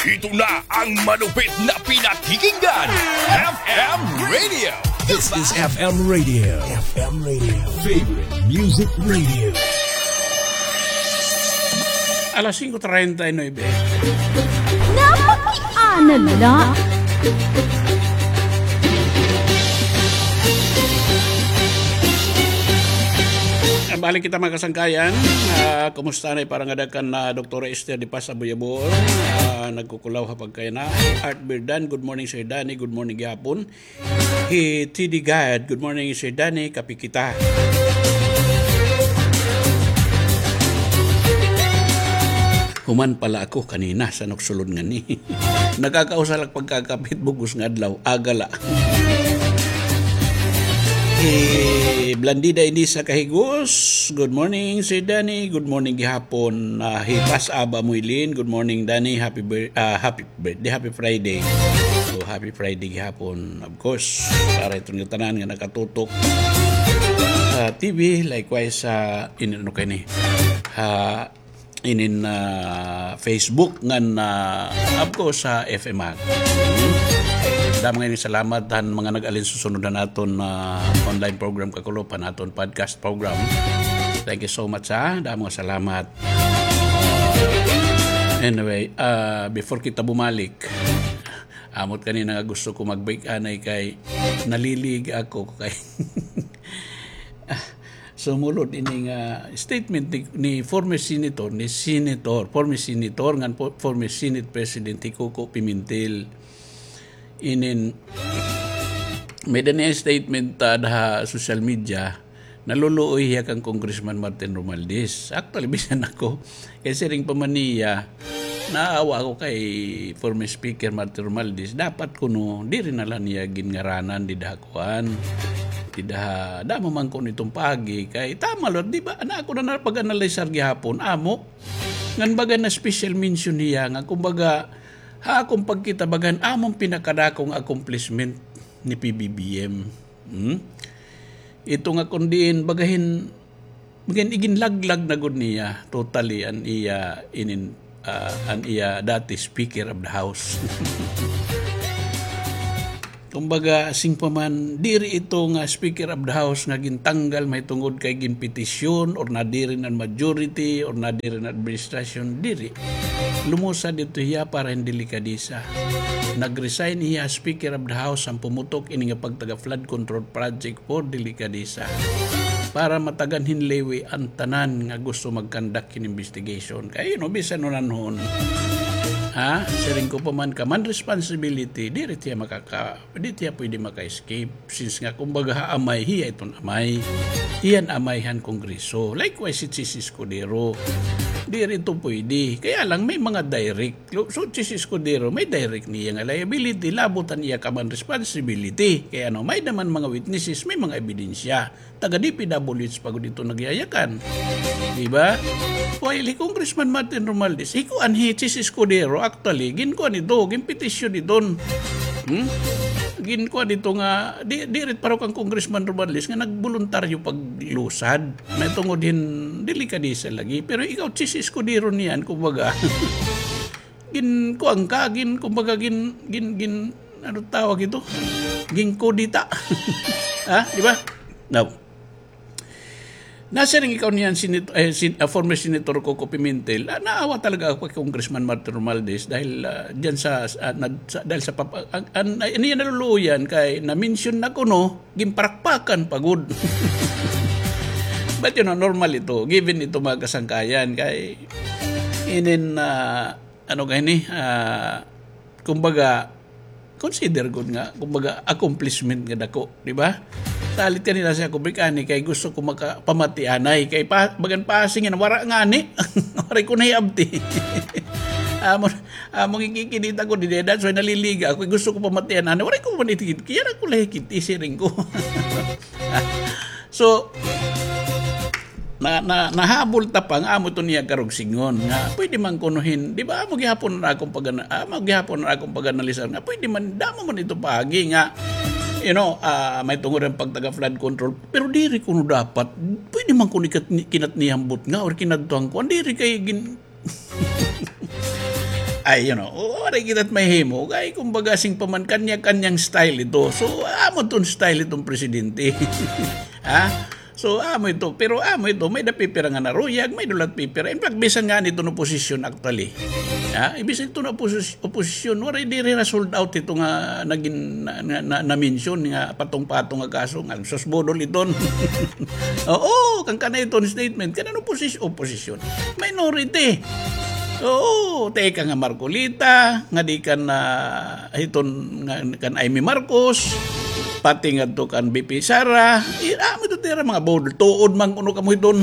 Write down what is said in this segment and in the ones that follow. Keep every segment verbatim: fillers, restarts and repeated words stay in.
Ito na ang malupit na pinakikinggan, F M Radio. This is F M Radio. F M Radio. Favorite Music Radio. Alas singko treinta y nuebe. Napakiana la. Balik kita, mga kasangkayan. Ah, kumusta na para ngada kan, ah, Doktora Esther de Paz Aboyabol? Ah, nagkukulaw ha pagkayana. Art Birdan, good morning, Sir Danny. Good morning gihapon. Hi T D Gad, good morning, Sir Danny. Kape kita. Human pala ako kanina sa nagsulod ngani. Nakakausa la pagkakape hit bug-os nga adlaw, aga la. Eh, Blandida Inisa Kahigos, good morning, Sir Danny. Good morning gihapon. Ah, hi Pas Aba Muilin, good morning, Danny. Happy bir-, ah, happy birthday, happy Friday. So, happy Friday gihapon, of course, para iton nga tanan nga nakatutok sa T V, likewise sa, inin, ano kay ni, ha, inin, ah, Facebook ngan, ah, of course, sa F M Act. Hmm? Damo nga ini salamat han mga nag-alinsusunod han aton, ah, online program, kakulop, han aton podcast program. Thank you so much, ha. Damo nga salamat. Anyway, ah, before kita bumalik, amo it kanina nga gusto ko mag-break anay kay nalilig ako kay, ah, sumulod ini nga statement ni, ni former senator, ni senator, former senator, ngan po-, former Senate President hi Coco Pimentel. Inin, may-ada niya statement, ah, ha social media, naluluoy hiya kan Congressman Martin Romualdez. Actually, bisan ako, kay siring pa man niya, naawa ako kay former Speaker Martin Romualdez. Dapat kuno, diri na la niya ginngaranan dida ha kuan. Dida ha, damo man kuno iton paagi. Kay tama la, di ba? Ana ako na napag-analysar gihapon, amo. Ngan baga na special mention hiya, nga kumbaga, ha akon pagkita, baga han amon pinakadako nga accomplishment ni P B B M. Hmm? Ito nga kon diin, baga hin, baga hin iginlaglag na gud niya totally an iya inin, ah, an iya dati Speaker of the House. Kumbaga, siring pa man, diri ito nga Speaker of the House nga gintanggal mahitungod kay ginpetisyon or nadiri na an majority or nadiri na an administrasyon, diri. Lumusad ito hiya para hin delikadesa. Nag-resign hiya Speaker of the House han pumutok ini nga pagtaga flood control project for delikadesa. Para matagan hin liwi an tanan nga gusto mag-conduct hin investigation. Kay, you know, bisan hunanhon. Ha? Siring ko pa man, common responsibility, diri hiya makaka-, diri hiya pwede maka-escape. Since nga, kumbaga, ha amay, hiya iton amay. Hiya an amay han Kongreso. Likewise, si Chiz Escudero. Diri ito pwede. Kaya lang, may mga direct. So, Chiz Escudero, may direct niya nga liability, labot an iya common responsibility. Kay ano, may-ada man mga witnesses, may mga ebidensya. Taga D P W H pa gud ito nagyayakan. Di ba? While hi Congressman Martin Romualdez, hi kuan hi Chiz Escudero, actually, ginkuan ito, ginpetisyon ito. Hmm? Ginkuan ito nga, di, diri it pareho kan Congressman Romualdez nga nagboluntaryo paglusad. Mahitungod hin delikadesa lagi. Pero ikaw, Chiz Escudero niyan, kumbaga, ginkuan ka, gin-, kumbaga, gin-, gin-, gin-, ano tawag ito? Ginkudeta. Ha? Di ba? Now, nasiring ikaw niyan, Senat-, eh, Sen-, ah, former Senator Coco Pimentel, ah, naawa talaga ako kay Congressman Martin Romualdez dahil, ah, diyan sa, sa, ah, nad-, sa, dahil sa pap-, ah, an, an, an, naluluoyan kay na-mention na kuno, ginparakpakan pa gud. But, you know, normal ito, given ito, mga kasangkayan, kay inin, ah, ano kay ni, ah, kumbaga, consider gud nga, kumbaga, accomplishment nga dako, di ba? Salit kanina siya ko, Brik, ani, kay gusto ko makapamati anay, kay pa, bagan pasing yan, wara ngani, waray ko nahiabti. Amo, amo, gikikinita ko, di, that's why naliliga ako, gusto ko pamatian anay, waray ko man itikit, kaya na ko lahikit, isiring ko. So, na, na, nahabol ta pa nga amo ito niya karugsingon nga pwede man kuno hin, di ba, amo gihapon na akong pagana-, amo gihapon na akong pag-analisar nga pwede man, damo man ito paagi nga, you know, ah, may tungod ang pagtaga flood control, pero diri kuno dapat, pwede man kuno ikat-, kinatnihambot nga or kinadtuhan ko, diri kay gin-, Ay, you know, waray kita it mahimo. Kay, kumbaga, siring pa man, kanya-kanyang style ito. So, amo iton style iton presidente. Ha? So, amo ito. Pero amo ito, may-ada pipira nga naruyag, may-ada la pipira. In fact, bisan ngani iton oposisyon, actually. Ha? Bisan iton oposis-, oposisyon, waray diri na sold out ito nga nagin, na, na, na, na-mention nga patong-patong nga kaso, nga sus, budol iton. Oo, kan kana iton statement, kanan oposis-, oposisyon. Minority. Oo, teka nga Marcoleta, ngadi kan, ah, hiton nga, kan Imee Marcos, pati ngadto kan V P Sara, ira, amo ito tira mga budol, tuod man kuno kamo hiton.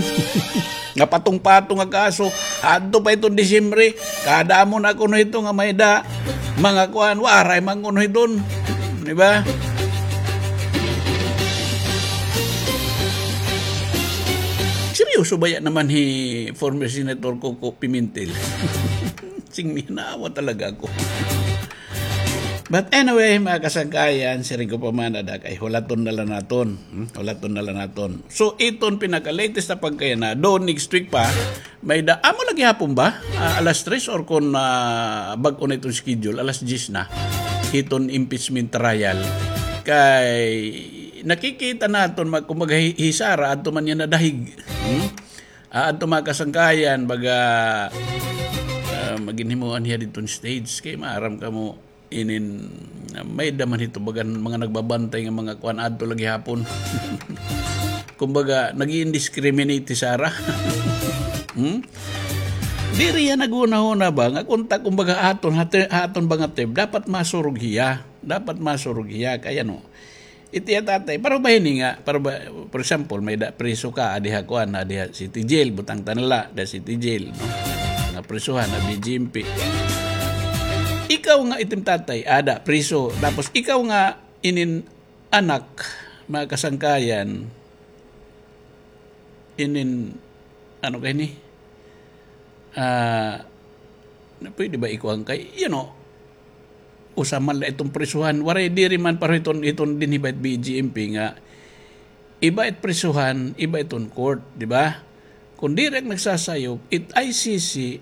Nga patong-patong nga kaso, adto pa hiton Disyembre, kada amo na kuno hito nga may-ada, mga kuan, waray man kuno hiton. Di ba? Seryoso baya naman hi former Senator Coco Pimentel. Sing, naawa talaga ako. But anyway, mga kasangkayan, siring ko pa man, ada kay hulaton na la naton. Hmm? Hulaton na la naton. So, iton pinaka-latest na pagkayana, do next week pa, may-ada, amo la gihapon ba? Ah, alas tres or kon, ah, bag-o na iton schedule, alas diyes na. Iton impeachment trial. Kay, nakikita naton, mag-, kumbaga, hi-, hi Sara, adto man niya nadahig. Hmm? Ah, adto mga kasangkayan, baga, ah, maginhimuan hiya didton stage. Kay maaram kamo, inin, ah, may-ada man hito, baga, mga nagbabantay nga mga kuan adto la gihapon. Kumbaga, nag-i-indiscriminate hi Sara. Hmm? Diri hiya naghunahuna ba nga kunta, kumbaga, aton, hati-, aton ba nga term, dapat masurog hiya. Dapat masurog hiya. Kay ano, Iti iya tatay, para ba hini nga, para ba, for example, may-ada priso ka, adi ha kuan, adi ha city jail, butang ta na la, da city jail, no? Nga prisohan, ha B G M P. Ikaw nga itim tatay, ada, priso. Tapos ikaw nga inin anak, mga kasangkayan, inin, ano kay ni? Ah, na pwede ba ikuan kay, you know, usa man la iton prisohan, waray diri man pareho iton, iton dinhi ba it B G M P nga, iba it prisohan, iba iton court, di ba? Kon diri ak nagsasayop, it I C C,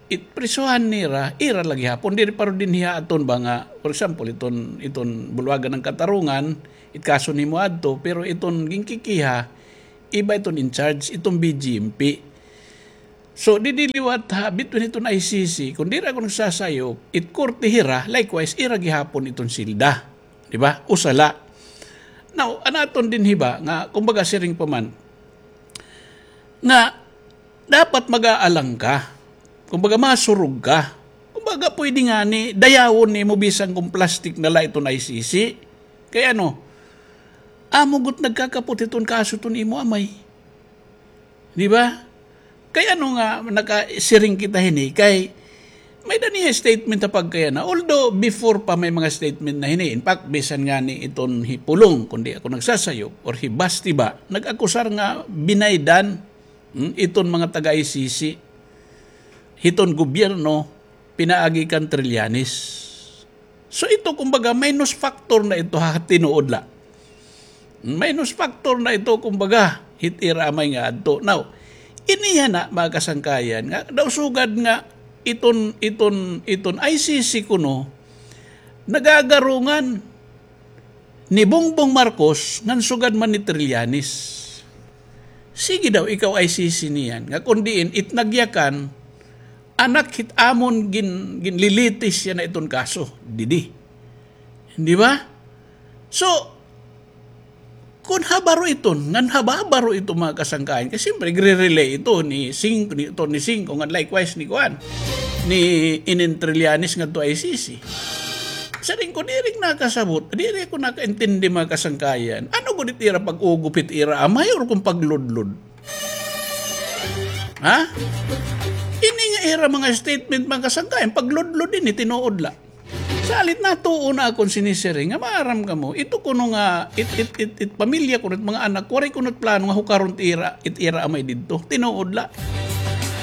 it prisohan nira, ira la gihapon, diri pareho dinhi ha aton ba nga, for example, iton, iton bulwagan ng katarungan, it kaso nimo adto, pero iton ginkikiha, iba iton in charge, iton B G M P. So, didi liwat ha, between iton I C C, kon diri ako nagsasayop, it korte hira, likewise, ira gihapon iton silda. Di ba? Usa la. Now, an aton dinhi ba, nga, kumbaga, siring pa man, nga, dapat mag-aalang ka. Kumbaga, masurog ka. Kumbaga, pwede ngani, dayawon nimo bisan kon plastic na la iton I C C. Kay ano, amo gud nagkakapot iton kaso iton imo amay. Di ba? Kay ano nga nakasiring kita hini, kay may-ada niya statement ha pagkayana. Although before pa may mga statement na hini. In fact, bisan ngani iton hi Pulong, kon di ako nagsasayop, or hi Basti ba, nag-akusar nga binaydan, hmm, iton mga taga-I C C, hiton gobyerno, pinaagi kan Trillanes. So ito, kumbaga, minus factor na ito ha tinuod la. Minus factor na ito, kumbaga, hit ira amay nga adto. Now, iniha na, mga kasangkayan, nga daw sugad nga iton, iton, iton I C C kuno, nagagarungan ni Bongbong Marcos ngan sugad man ni Trillanes. Sige daw, ikaw I C C niyan, nga kon diin it nagyakan, anak hit amon gin-, ginlilitis yana iton kaso. Didi. Di ba? So, kon habaro iton, ngan hababaro ito mga kasangkayan, kay siyempre, gre-relay ito ni Sing-, ni, ito ni Singco, ngan likewise ni kuan, ni inin Trillanes ngadto I C C. Siring ko, diri nakasabot, diri ako nakaintindi mga kasangkayan. Ano gud it ira pag-ugop hit ira amay or kon pagludlod? Ha? Ini nga ira mga statement, mga kasangkayan, pagludlod ini, tinuod la. Salit natuo na akon sinisiring nga maaram kamo, ito kuno nga, it, it, it, it pamilya kuno, it mga anak, waray kuno it plano nga hukaron it ira, it ira amay didto. Tinuod la.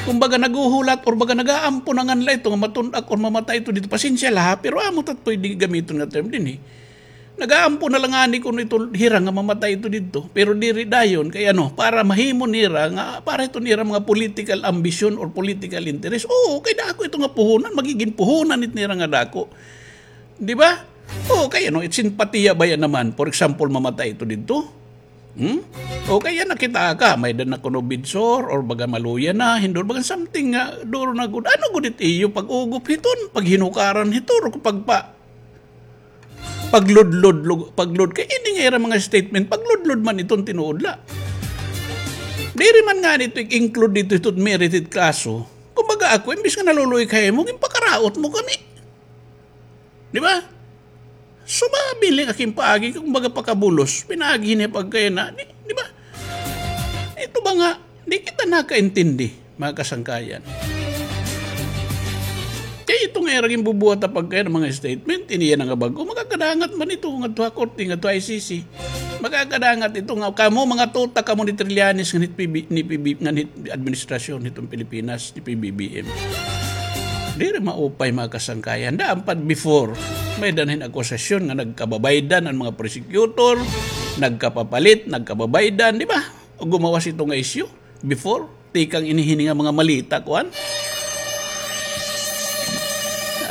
Kumbaga naghuhulat or baga nag-aampo na ngan la ito nga matun-ak or mamatay ito didto. Pasensya la ha, pero amo tat pwede gamiton nga term dinhi. Nagaampo na la ngani kuno ito hira nga mamatay ito didto. Pero diri dayon kay ano, para mahimo nira nga, para ito nira mga political ambition or political interest. Oo, kay dako ito nga puhunan, magigin puhunan it nira nga dako. Di ba? Oo, kay ano, it simpatiya baya naman. For example, mamatay ito didto. Hmm? O kay yana kita ka, may-ada na kuno bidsor, or baga maluya na, hindor, baga something nga, duro na gud. Ano gud it iyo pag-ugop hiton, paghinukaran hiton, or pagpa-, pagludlod, lug-, paglud-, kay ini nga ira mga statement, pagludlod man iton tinuod la. Diri man ngani ito i-include didto hiton merited kaso. Kumbaga ako, imbis nga naluluoy ka himo, ginpakaraot mo kami. Di ba? So, mabiling aking paagi, kumbaga pakabulos, pinaagi niya pagkaya na, di, di ba? Ito ba nga, di kita nakaintindi, mga kasangkayan. Kay ito nga ira ginbubuhat pagkaya nga mga statement, ini yana nga bag-o, makakadangat man ito, ngadto ha korte, ngadto ha I C C. Makakadangat ito nga, kamo mga tuta, kamo ni Trillanes, ngan hit P B, ni P B, ngan hit administrasyon, hitong Pilipinas, ni P B B M. Diri maupay, mga kasangkayan. Daan pa before, may-ada na hin akusasyon nga nagkababaydan an mga prosecutor, nagkapapalit, nagkababaydan, di ba? Gumawas ito nga isyu before, tikang ini hini nga mga malita, kuan.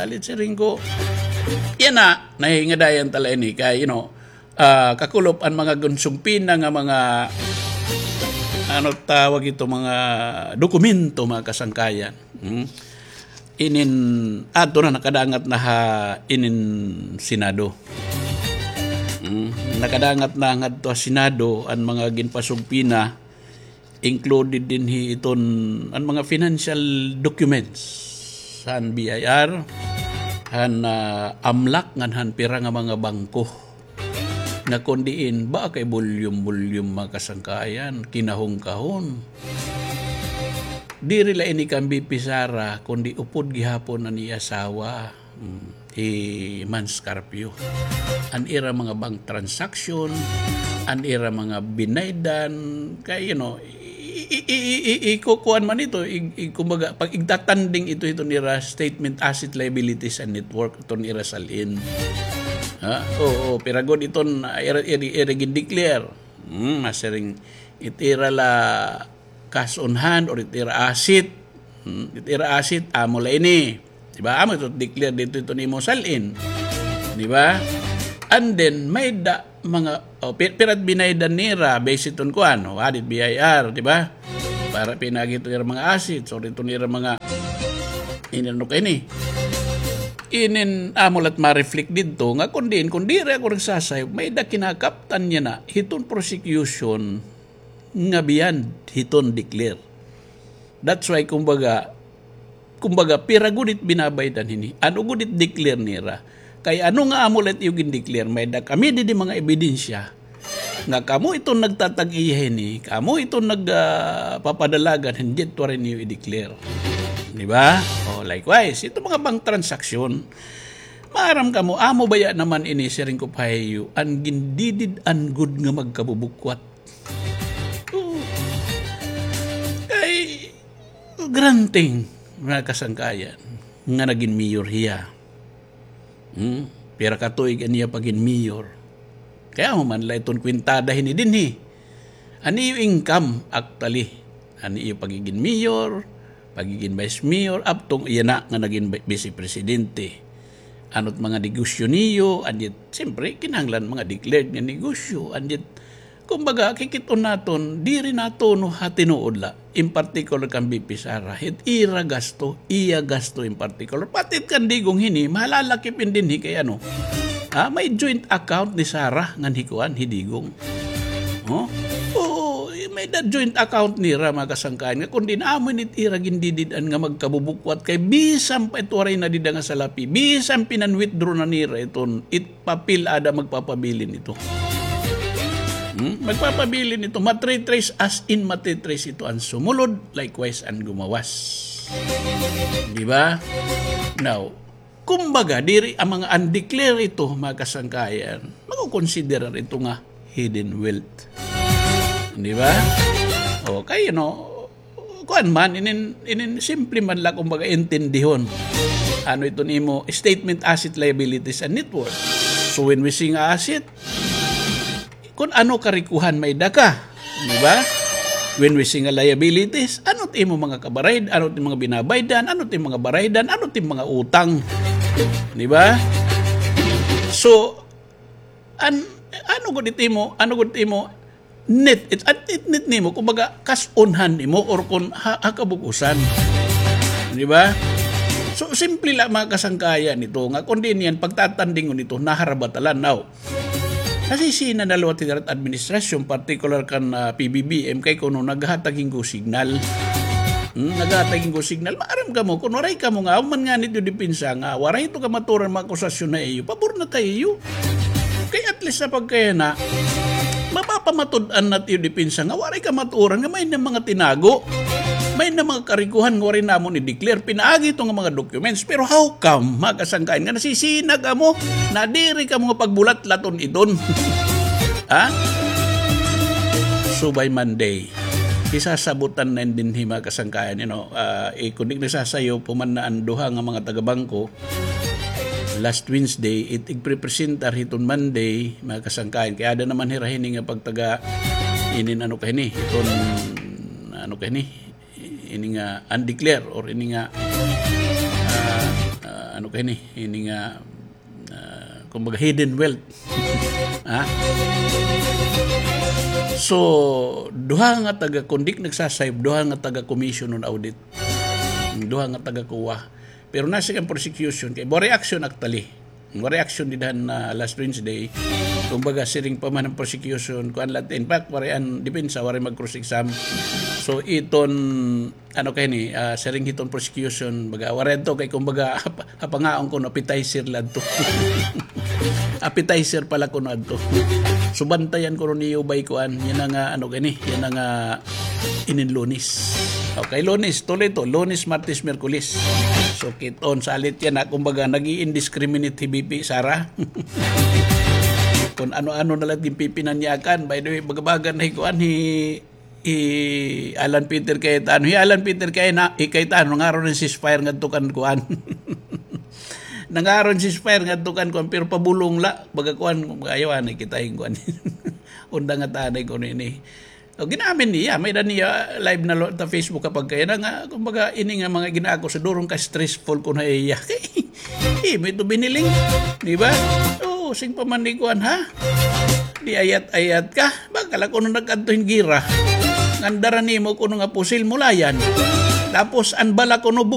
Alit siring ko. Yana, nahingadayan ta la ini kay, you know, ah, kakulop an mga ginsumpina nga mga, ano tawag ito, mga dokumento, mga kasangkayan. Hmm? Inin, adto na, nakadangat na ha inin Senado. Hmm? Nakadangat na ngadto ha Senado an mga ginpasumpina, included dinhi iton an mga financial documents han B I R, han, ah, AMLAC, ngan han pira nga mga bangko. Nga kon diin, ba kay bulyum-bulyum, mga kasangkayan, kinahon-kahon. Diri la ini kan V P Sara, kundi upod gihapon an iya asawa, mm, hi Mans Carpio. An ira mga bank transaction, an ira mga binaydan, kay, you know, i-, i-, i-, i-, ikukuan man ito, i-, i-, kumbaga, pag igtatanding ito, ito nira statement asset liabilities and net worth, ito nira salin. Ha? Oo, pira gud iton, ah, ira, ira, ira gin-declare. Hmm, masiring, it ira la cash on hand or it ira asset. Hmm, it ira asset, amo la ini. Di ba? Amo ito declare didto ito nimo salin. Di ba? And then, may-ada mga, oh, pi-, pira it binaydan nira, base iton kuan, oh, hadit B I R, di ba? Para pinaagi ito nira mga assets, or ito nira mga, inano ka ini. Inin amo la it ma-reflect didto, nga kun diin, kun diri ako nagsasayop, may-ada kinakaptan niya na, hiton prosecution, nga beyond hiton declare. That's why, kumbaga, kumbaga, pira gud it binabaydan hini? Ano gud it declare nira? Kay ano nga amo la it iyo gin-declare? May-ada kami didi mga ebidensya nga kamo iton nagtatag-iya hini, kamo iton nag, ah, papadalagan, hindi it waray niyo i-declare. Di ba? O, likewise, ito mga bank transaction, maaram kamo, amo baya naman ini, siring ko pa ha iyo, an gindidid-an gud nga magkabubukwat. Oo. Kay, granting, mga kasangkayan, nga nagin mayor hiya. Hmm? Pira ka tuig an iya pagin mayor. Kay amo man la iton kwentada hini dinhi. An iyo income, actually. An iyo pagigin mayor, pagigin vice mayor, up to yana nga nagin bi-, vice presidente. Ano it mga negosyo niyo, and yet, siyempre, kinahanglan mga declared nga negosyo, and yet, kumbaga, kikit-on naton, diri natuno ha tinuod la. In particular kan V P Sara, it ira gasto, iya gasto in particular. Pati it kan Digong hini, mahalalakip in dinhi kay ano. Ha, may joint account ni Sara ngan hi kuan, hi Digong. Oh? Oo, may-ada joint account nira, mga kasangkayan, nga kun diin amo ini it ira gindidid-an nga magkabubukwat kay bisan pa it waray na dida nga salapi, bisan pinan-withdraw na nira iton, it papel ada magpapabilin ito. Hmm? Magpapabilin ito. Matitrace as in matitrace ito an sumulod, likewise an gumawas. Di ba? Now, kumbaga, diri an mga undeclared ito, mga kasangkayan, makukonsiderar ito nga hidden wealth. Di ba? Okay, you know, kuan man, inin, inin simple man la, kumbaga, intindihon. Ano ito nimo, statement asset liabilities and net worth. So when we say nga asset, kun ano karikuhan may-ada ka, di ba? When we say nga liabilities, ano it imo mga kabarayd, ano it imo mga binabaydan, ano it imo mga baraydan, ano it imo mga utang, di ba? So, an-, ano gud it imo, ano gud it imo net, it, at it net nimo, kumbaga, kas-unhan nimo or kun ha, ha kabug-usan. Di ba? So, simple la mga kasangkayan nito, nga kun diin niyan pagtatandingon nito, naharabatalan. Now, nasisina na liwat hira it administrasyon, particular kan, ah, P B B M, kay kuno naghatag hin go signal. Hmm, naghatag hin go signal. Maaram kamo, kun waray kamo nga, human ngani it iyo depensa nga, waray ito kamaturan mga akusasyon ha iyo, pabor na ta ha iyo. Kay at least sa pagkayana, mapapamatud-an na it iyo depensa nga waray kamaturan nga may-ada mga tinago. May-ada mga karikuhan nga waray namon i-declare. Pinaagi ito nga mga documents. Pero how come, mga kasangkayan, nga nasisina kamo, nadiri kamo nga pagbulatlaton iton? Ha? So by Monday, isasabotan na dinhi, mga kasangkayan, you know, ah, eh, kun di nasasayaw pa man na an duha nga mga taga-bangko, last Wednesday, it igprepresentar hiton Monday, mga kasangkayan. Kay ada naman hira hini nga pagtaga inin ano ka hini, hiton ano ka hini, ini nga undeclare or ini nga, ah, ah, ano ka hini, ini nga, ah, kumbaga hidden wealth. Ha? So, duha nga taga, kun di nagsasayop, duha nga taga commission on audit. Duha nga taga-COA. Pero nasiring an prosecution, kay waray action actually. Waray action dida han, ah, last Wednesday. Kumbaga, siring pa man an prosecution, kuan la, in fact, waray an depensa, waray mag-cross-exam. So, iton, ano kay ni, ah, siring hiton prosecution, baga, waray adto kay, kumbaga, hap-, hapangaon kuno, appetizer la adto. Appetizer pala kuno adto. So, bantayan kuno niyo bay kuan, yana nga, ano kay ni, yana nga, inin Lunes. Okay, Lunes, tuloy to. Lunes, Martes, Miyerkules. So, kit-on, salit yana, kumbaga, nag-i-indiscriminate hi V P Sara. Kun ano-ano na la it ginpipinanyakan. By the way, baga-baga na hi kuan, hi, hi Alan Peter Cayetano. Hi Alan Peter Cayena-, hi Cayetano, nangaron hin ceasefire ngadto kan kuan. Nangaron ceasefire ngadto kan kuan, pero pabulong la, baga kuan, ayaw anay kita hin kuan. Unda nga tanay kuno ini. O, gin-amin niya, may-ada niya live na lo-, ta Facebook kapag kaya na nga, kumbaga, ini nga mga ginaako sa durong ka stressful kuno ha iya. Imo ito biniling, di ba? Oo, siring pa man ni kuan, ha? Di ayat-ayat ka. Baka la kuno nag-adto hin gira. Ngandara nimo kuno nga pusil, mulayan. Tapos, an bala kuno